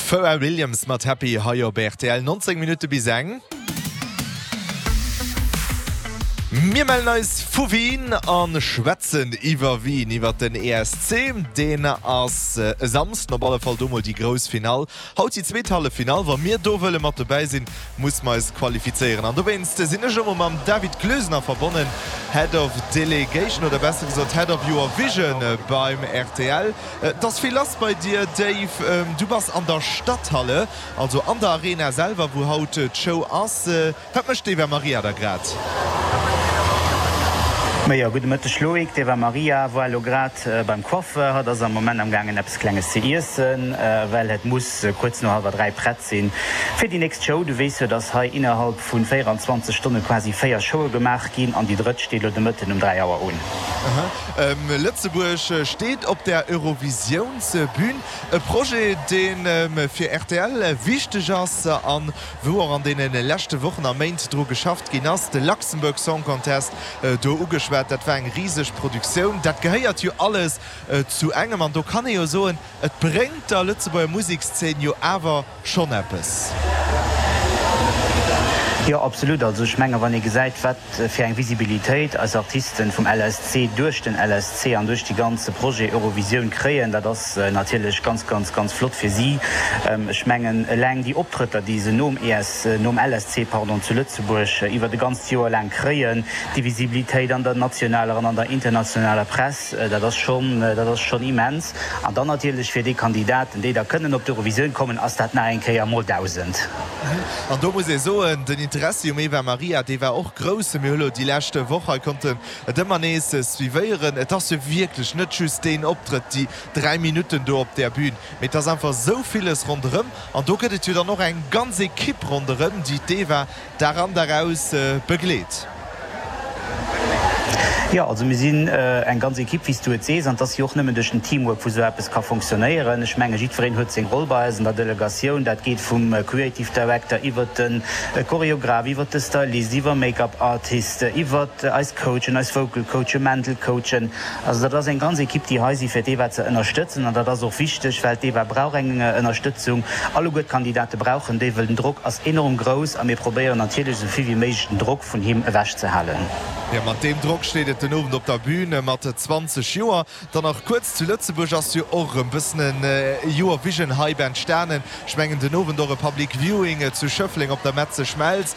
Pharrell Williams mat Happy hei op rtl, 19 Minutte bis eng. Mir mellen eis vu Wien a schwätzen iwwer Wien, iwwer den ESC. Deen ass e Samsden op alle Fall do mol déi grouss Finall. Haut déi zweet Halleffinall. Wa mir do wëlle mat dobäi sinn, muss mer eis qualifizéieren. An dowéinst sinn ech elo mol mam David Gloesener verbonnen, Head of Delegation oder besser gesot Head of Eurovision beim rtl. Et ass vill lass bei dir, Dave. Du bass an der Stadthalle, also an der Arena selwer, wou haut d'Show ass. Wat mécht d'Eva Maria da grad? Majo, gudde Mëtteg Loïc. D'Eva Maria war elo grad beim Coiffeur. Hatt ass am Moment am gaangen eppes Klenges ze iessen, well et muss kuerz no hallwer 3 prett sinn fir déi nächst Show. Du weess jo, dass hei innerhalb vu 24 Stonne quasi 4 Showe gemaach ginn an déi drëtt steet elo de Mëtten um 3 Auer un. Lëtzebuerg steet op der Eurovisiounsbün. E Projet, dee fir rtl wichteg ass a wou och an deene leschte Wochen a Méint dru geschafft ginn ass. De Luxembourg Song Contest do ugeschwat, dat war eng riseg Produktioun. Dat gehéiert jo alles zu engem an do kann ee jo soen, et bréngt der Lëtzebuerger Musekszeen jo awer schonn eppes. Jo, absolut. Also ech menge wann ee gesäit, wat fir eng Visibilitéit eis Artisten vum LSC duerch den LSC an duerch dee ganze Projet Eurovisioun kréien, dat ass natierlech ganz, ganz, ganz flott fir si. Ech mengen eleng déi Optrëtter, déi se nom ES, nom LSC, pardon, zu Lëtzebuerg iwwert e ganzt Joer laang kréien, déi Visibilitéit an der nationaler an an der internationaler Press, dat ass schonn, dat ass schonn immens. An dann natierlech fir déi Kandidaten, déi da kënnen op d'Eurovisioun kommen, ass dat nach eng Kéier mol 1.000. An do muss ee soen, den Interessi um Eva Marija, dee war och grouss. Mir hu lo déi lescht Woch hei konnten et ëmmer nees suivéieren. Et ass jo wierklech net just deen Optrëtt, déi 3 Minutten do op där Bün, mee et ass einfach esou villes ronderëm. An do gëtt et jo dann och eng ganz Ekipp ronderëm, déi d'Eva Dag an Dag aus begleet. Jo, also mir sinn eng ganz Ekipp, wéi s du et sees, an et ass jo och nëmmen duerch den Teamwork, wou esou eppes ka fonctionnéieren. Ech menge jiddwereen huet seng Roll bei eis an der Delegatioun. Dat geet vum Creative Director iwwert de Choreograph, iwwert de Stylist, iwwer Make-up Artist, iwwert eis Coachen, eis Vocal Coachen, Mental Coachen. Also dat ass eng ganz Ekipp, déi hei si fir d'Eva ze ënnerstëtzen. An dat ass och wichteg, well d'Eva brauch eng Ënnerstëtzung. Alleguer d'Kandidate brauchen déi, wëll den Drock ass enorm grouss a mir probéieren natierlech esou vill wéi méiglech den Drock vun him ewechzehalen. Jo, mat deem Drock steet et den Owend op der Bühn. Mat 20 Joer dann nach kuerz zu Lëtzebuerg ass jo och erëm bëssen en Eurovision-Hype entstanen. Ech mengen den Owend och e Public Viewing zu Schëffleng op der Metze Schmelz.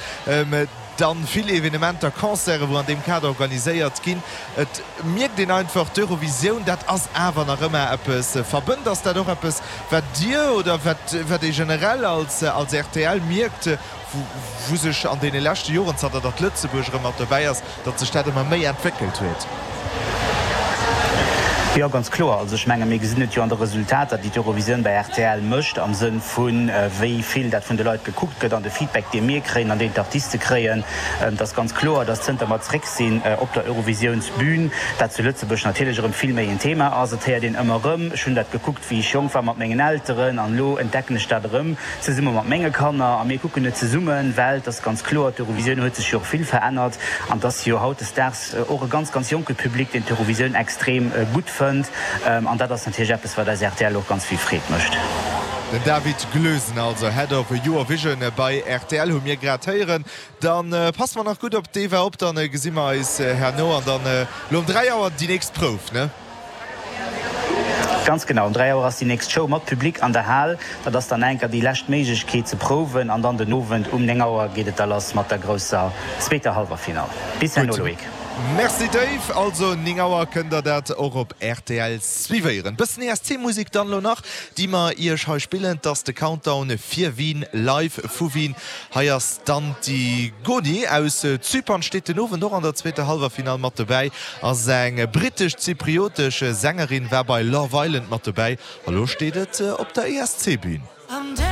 Dann vill Evenementer, Concerten, wou an deem Kader organiséiert ginn. Et mierkt een einfach, d'Eurovisioun, dat ass awer nach ëmmer eppes verbënnt. Ass dat och eppes, wat Dir oder wat wat ee generell als als rtl mierkt, wou sech an deene leschte Joren, zanter datt Lëtzebuerg erëm mat dobäi ass, datt sech dat ëmmer méi entwéckelt huet? Jo, ganz kloer. Also ech menge mir gesinn et jo an de Resultater, déi d'Eurovisioun bei rtl mécht, am Sënn vu wéi vill dat vun de Leit gekuckt gëtt an de Feedback, dee mir kréien an deen d'Artiste kréien. Et ass ganz kloer, datt zënter mer zréck sinn op der Eurovisiounsbün, dat zu Lëtzebuerg natierlech erëm vill méi en Thema ass. Et héiert een ëmmer erëm, ech hunn dat gekuckt, wéi ech jonk war mat mengen Elteren an elo entdecken ech dat erëm zesumme mat menge Kanner a mir kucken et zesummen, well et ass ganz kloer, d'Eurovisioun huet sech jo och vill verännert an et ass jo hautdesdaags, Och e ganz, ganz jonke Public, deen d'Eurovisioun extrem gutt fënnt. An dat ass natierlech eppes, wat eis rtl och ganz vill Freed mécht. Den David Gloesen also, Head of Eurovision bei rtl, hu mir grad héieren. Da passe mer nach gutt op d'Eva op, dann gesi mer eis herno an dann elo um 3 Auer déi nächst Prouf, ne? Ganz genau, um 3 Auer ass déi nächst Show mat Public an der Hal. Dat ass dann enker déi lescht Méiglechkeet ze prouwen an dann den Owend um 9 Auer geet et da lass mat der grousser zweeter Hallwerfinall. Bis herno Gutt, Loïc. Merci Dave. Also 9 Auer kënnt der dat och op rtl suivéieren. Bëssen ESC-Musek dann elo nach, déi mer iech hei spillen. 't ass de Countdown fir Wien, live vu Wien. Hei ass d'Antigoni aus Zypern, steet den Owend och an der zweeter Hallwerfinall mat dobäi, ass eng brittesch-zypriotesch Sängerin, war bei Love Island mat dobäi a lo steet et op der ESC-Bün.